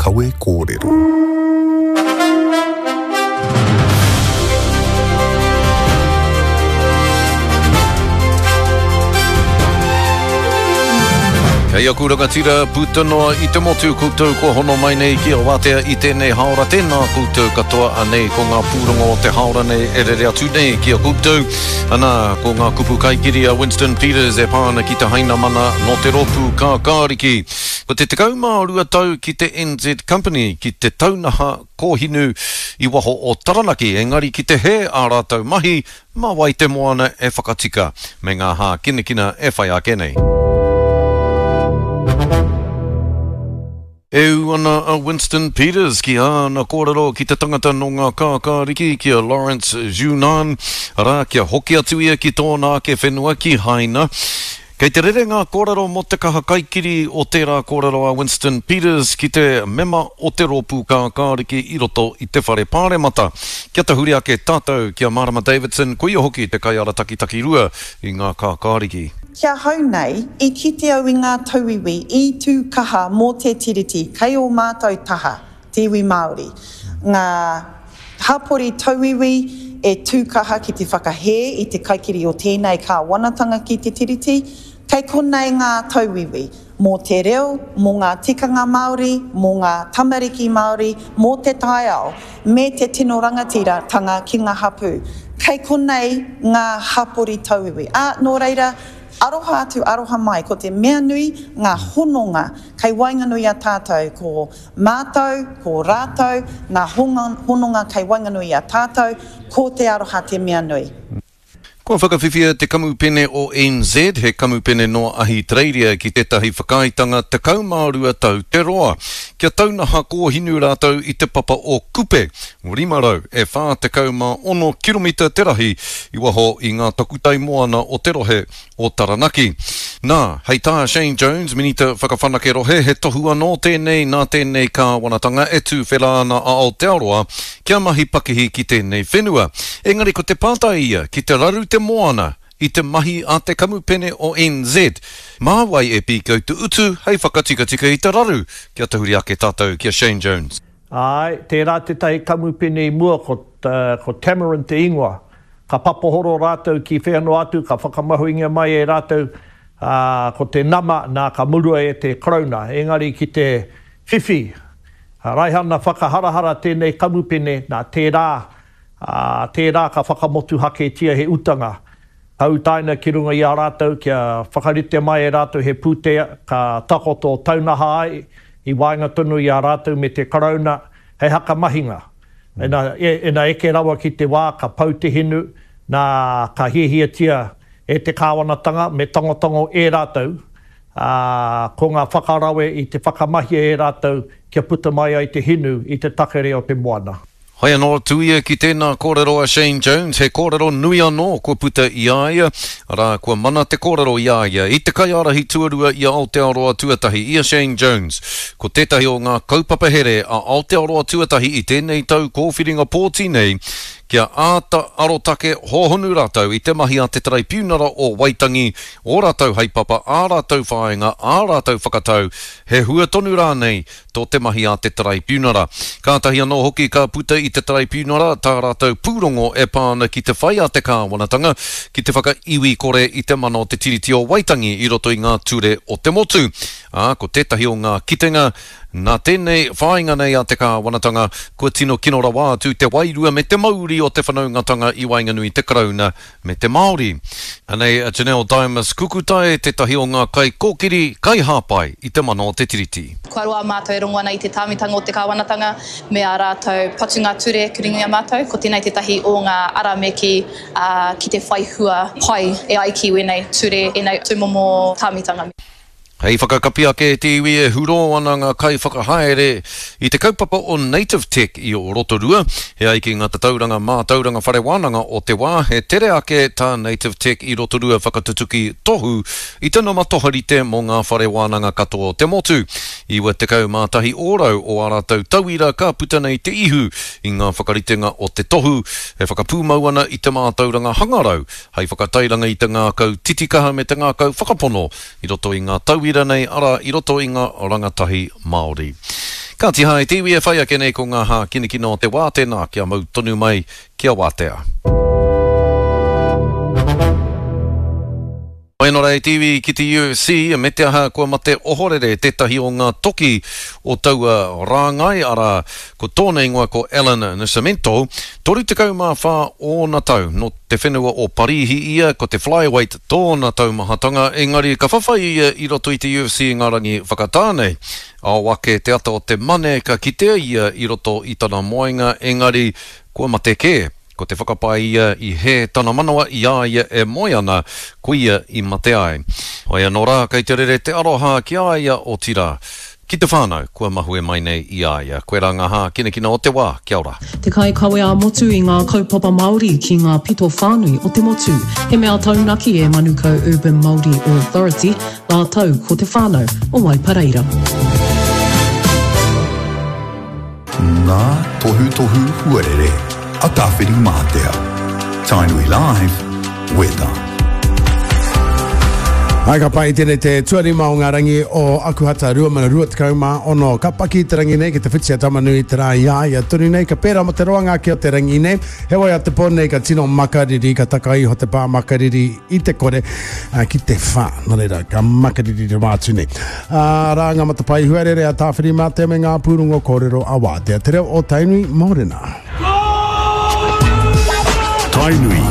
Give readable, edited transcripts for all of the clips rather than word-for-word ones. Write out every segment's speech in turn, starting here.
Kawe Kōrero. Kei aku rangatira puta noa i te motu koutou kua hono mai nei ki a Watea i tēnei haora tēnā koutou katoa anei ko ngā pūrongo o te haora nei e rere atu nei ki a koutou. Ana, ko ngā kupu kaikiri a Winston Peters e pā ana ki te Hainamana nō te rōpū Kākāriki. Ko te 12 tau ki te NZ Company ki te taunaha kōhinu i waho o Taranaki, engari ki te hē ā rātou mahi, mā wai te moana e whakatika, me ngā hākinakina e whai ake nei. E ū ana a Winston Peters ki āna kōrero ki te tangata nō ngā kākāriki, ki a Lawrence Zhunan, arā, kia hoki atu ia ki tōna ake whenua, ki Haina. Kei te rere ngā kōrero mō te kaha kaikiri o tērā kōrero a Winston Peters ki te mema o te Rōpū Kākāriki i roto i te Whare Pāremata. Kia tahuri ake tātou ki a Marama Davidson, ko ia hoki te kaiarataki takirua i ngā Kākāriki. Ki ahau nei, i kite au i ngā tauiwi i tū kaha mō te Tiriti kei ō mātou taha, te iwi Māori, ngā hapori tauiwi e tū kaha ki te whakahē i te kaikiri o tēnei kāwanatanga ki te Tiriti, kei konei ngā tauiwi, mō te reo, mō ngā tikanga Māori, mō ngā tamariki Māori, mō te taiao, me te tino rangatiratanga ki ngā hapū. Kei konei ngā hapori tauiwi. Ā, nō reira, aroha atu, aroha mai, ko te mea nui, ngā hononga kei waenganui i a tātou, ko Mātou, ko rātou, ngā hononga kei waenganui i a tātou, ko te aroha te mea nui. Kua whakawhiwhia te Kamupene o NZ, he kamupene nō Ahitereiria ki tētahi whakaaetanga 12 tau te roa, kia taunaha kōhinu rātou i te papa o Kupe, 500 e 46 kiromita te rahi i waho i ngā takutai moana o te rohe o Taranaki. Nā, hei tā Shane Jones, Minita Whakawhanake Rohe, he tohu anō tēnei nā tēnei kāwanatanga e tūwhera ana a Aotearoa kia mahi pakihi ki tēnei whenua. Engari ko te pātai ia, ki te raru te moana i te mahi a te kamupene o NZ, mā wai e pīkau te utu hei whakatikatika i te raru? Kia tahuri ake tātou ki a Shane Jones. Āe, tērā tētahi kamupene i mua ko, ko Tamarind te ingoa. Ka papohoro rātou ki whea noa atu, ka whakamahuingia mai e rātou, ā, ko te nama, nā, ka murua e te Karauna. Engari ki te whiwhi raihana whakaharahara tēnei kamupene, nā, tērā, ā, tērā ka whakamotuhaketia he utanga. Ka utaina ki runga i a rātou kia whakarite mai e rātou he pūtea ka takoto taunaha ai i waenga tonu i a rātou me te Karauna hei hakamahinga. Ina, ina eke rawa ki te wā ka pau te hinu, nā, ka hiahiatia e te kāwanatanga me tangotango e rātou, ā, ko ngā whakarawe i te whakamahia e rātou kia puta mai ai te hinu i te takere o te moana. Hai anō atu ia ki tēnā kōrero a Shane Jones, he kōrero nui anō kua puta i a ia, arā, kua mana te kōrero i a ia, i te kaiārahi tuarua i a Aotearoa Tuatahi, i a Shane Jones. Ko tētahi o ngā kaupapa here a Aotearoa Tuatahi i tēnei tau kōwhiringa pōti nei, kia āta arotake hōhonu rātou i te mahi a te Taraipiunara o Waitangi, ō rātou haepapa, ā rātou whāinga, ā rātou whakatau, he hua tonu rānei tō te mahi a te Taraipiunara. Kātahi anō hoki ka puta i te Taraipiunara tā rātou pūrongo e pā ana ki te whai a te kāwanatanga ki te whakaiwi kore i te mana o te Tiriti o Waitangi i roto i ngā ture o te motu. Ā, ko tētahi o ngā kitenga, nā tēnei whāinga nei a te kāwanatanga, kua tino kino rawa atu te wairua me te mauri o te whanaungatanga i waenganui i te Karauna me te Māori. Anei a Janelle Dimas Kukutai, tētahi o ngā kaikōkiri, kaihāpai i te mana o te Tiriti. Kua roa mātou e rongo ana i te tāmitanga o te kāwanatanga me ā rātou patunga ture ki runga i a mātou. Ko tēnei tētahi o ngā ara me kī, ā, ki te whai hua pai e ai ki wēnei ture, ēnei tūmomo tāmitanga. Hei whakakapi ake te iwi e hurō ana ngā kaiwhakahaere i te kaupapa o Native Tech i Rotorua. E ai ki ngā tatauranga mātauranga whare wānanga o te wā, he tere ake tā Native Tech i Rotorua whakatutuki tohu i te nama toharite mō ngā whare wānanga katoa o te motu. 91 ōrau o ā rātou tauira ka puta nei te ihu i ngā whakaritenga o te tohu e whakapūmau ana i te mātauranga hangarau hei whakatairanga i te ngākau titikaha me te ngākau whakapono i roto i ngā tauira nei, arā, i roto i ngā rangatahi Māori. Kāti hā e te iwi e whai ake nei ko ngā hākinakina o te wā tēnā kia mau tonu mai kia wātea. Mai anō rā e te iwi ki te UFC, me te aha kua mate ohorere tētahi o ngā toki o taua rāngai, arā, ko tōna ingoa ko Alan Nascimento, 34 ōna tau, nō te whenua o Parīhi ia, ko te flyweight tōna taumahatanga, engari ka whawhai ia i roto i te UFC i ngā rangi whakatā nei. Ao ake te ata o te Mane ka kitea ia i roto i tana moenga, engari kua mate kē. Ko te whakapae ia i hē tana manawa i a ia e moe ana, koia i mate ai. Hoi anō rā, kei te rere te aroha ki a ia, otirā, ki te whānau kua mahue mai nei i a ia. Koirā ngā hākinakina o te wā. Kia ora. Te kaikawe ā-motu i ngā kaupapa Māori ki ngā pito whānui o te motu. He mea taunaki e Manukau Urban Māori Authority rātou ko te whānau o Waipareira. Ngā tohutohu huarere a Tāwhirimātea. Tainui Live, Weather. Hai ka pai tēnei te tuarima o ngā rangi o Akuhata 2026. Ka paki te rangi nei ki te whiti a Tamanui te rā i a ia tonu nei. Ka pērā mo te roanga ake o te rangi nei. Heoi a te pō nei ka tino makariri, ka taka iho te pā makariri i te kore ki te whā. Nō reira, ka makariri rawa atu nei. Arā ngā matapae huarere a Tāwhirimātea me ngā pūrongo kōrero a Wātea Te Reo o Tainui, Mōrena. Tainui.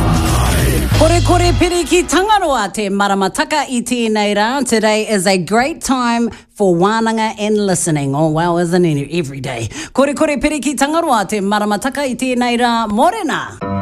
Korekore piri ki Tangaroa te maramataka i tēnei rā. Today is a great time for wānanga and listening. Oh well, isn't it every day. Korekore piri ki Tangaroa te maramataka i tēnei rā. Mōrena!